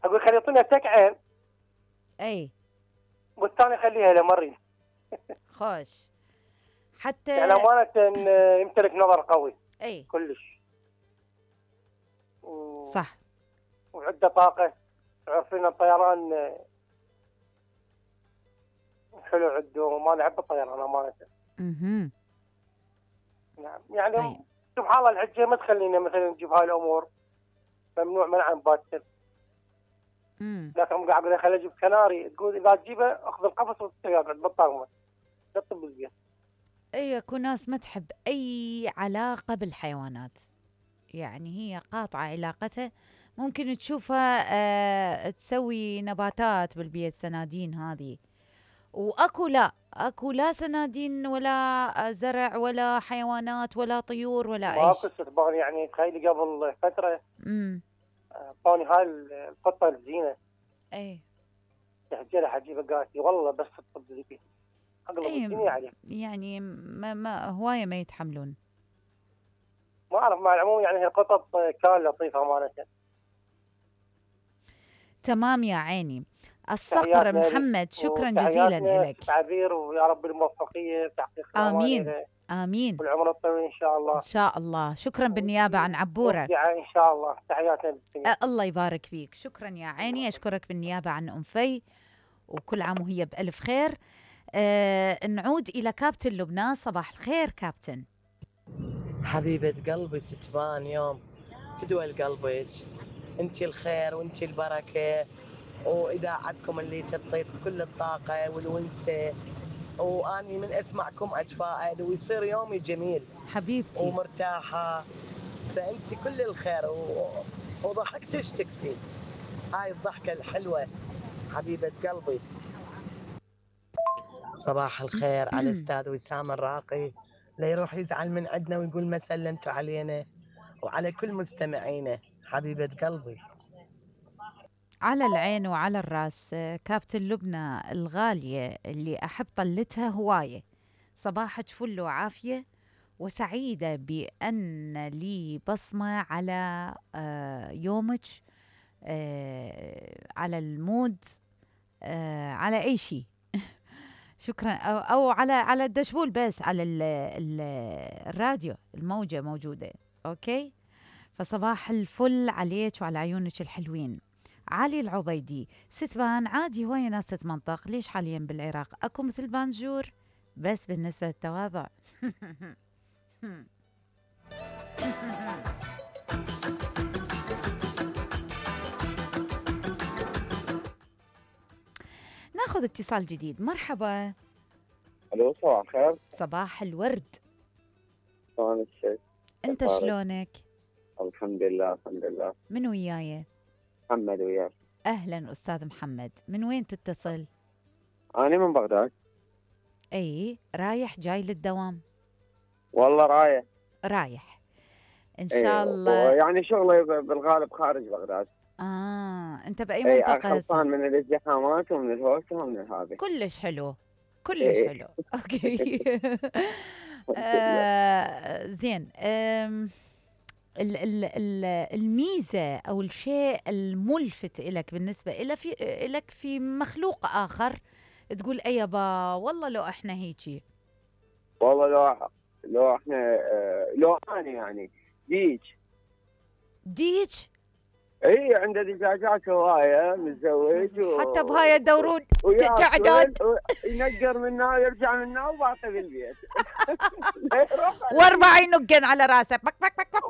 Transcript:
اقول خلي يعطينا تكعين اي والثاني خليها لمريض. خوش حتى يعني امانه يمتلك نظر قوي اي كلش صح، وعنده طاقه. عارفين الطيران حلو عنده، ما نحب الطيران امانه. نعم يعني طيب. سبحان الله الحجه ما تخلينا مثلا نجيب هاي الامور، ممنوع منعا باتا. لكن قاعد اقول خليني اجيب كناري، تقول اذا تجيبه اخذ القفص وتقعد بالطاقمه لا تطب بالبيت. اي اكو ناس ما تحب اي علاقه بالحيوانات، يعني هي قاطعه علاقتها. ممكن تشوفها تسوي نباتات بالبيت، سنادين هذه، واكو لا سنادين ولا زرع ولا حيوانات ولا طيور ولا اي ماكو شيء. استخبار. يعني تخيلي قبل فتره اعطوني هاي القطه الزينه، اي تحجيلها حجيبه قالت لي والله بس تطب بالبيت اقلب الدنيا عليه. يعني ما هوايه ما يتحملون. ما اعرف مع العموم يعني هي قطط كان لطيفه امانه. تمام يا عيني. الصقر محمد شكرا جزيلا لك. تعبير ويا رب الموفقيه بتحقيق امين امين والعمر الطويل ان شاء الله. ان شاء الله. شكرا بالنيابه عن عبوره. ان شاء الله. تحياتنا. الله يبارك فيك. شكرا يا عيني. اشكرك بالنيابه عن ام في، وكل عام وهي بالف خير. نعود الى كابتن لبنان. صباح الخير كابتن. حبيبه قلبي ستبان يوم فدوى قلبك، انت الخير وانت البركه، واذاعتكم اللي تعطيك كل الطاقه والونسه، واني من اسمعكم اتفائل ويصير يومي جميل حبيبتي ومرتاحه. فانت كل الخير وضحكتش تكفي. هاي الضحكه الحلوه حبيبه قلبي. صباح الخير على الاستاذ وسام الراقي، لا يروح يزعل من عندنا ويقول ما سلمتوا علينا، وعلى كل مستمعينا حبيبه قلبي. على العين وعلى الراس كابتن لبنى الغالية اللي أحب طلتها هواية. صباحك فل وعافية، وسعيدة بأن لي بصمة على يومك، على المود، على أي شيء. شكرا. أو على الدشبول، بس على الراديو الموجة موجودة. أوكي، فصباح الفل عليك وعلى عيونك الحلوين. علي العبيدي، ستبان عادي هواية ناس تتمنطق، ليش حاليا بالعراق اكو مثل بانجور بس بالنسبة للتواضع. ناخذ اتصال جديد. مرحبا. الو صباح الخير. صباح الورد. شلونك؟ انت شلونك؟ الحمد لله الحمد لله. من وياي؟ محمد وياك. اهلا استاذ محمد، من وين تتصل؟ انا من بغداد. اي رايح جاي للدوام؟ والله رايح ان شاء الله. يعني شغلي بالغالب خارج بغداد. انت باي منطقه؟ خلصان من الازدحامات ومن الهوسه ومن هذا. كلش حلو كلش حلو. اوكي. زين. الميزه او الشيء الملفت لك بالنسبه لك في مخلوق اخر تقول اي يابا والله لو احنا هيجي؟ والله لو احنا لو انا يعني ديج. اي عنده دجاجات هوايه متزوج حتى بهاي يدورون تعداد، ينقر منا ويرجع منا وباقي بالبيت. واربع ينقن على راسه بك بك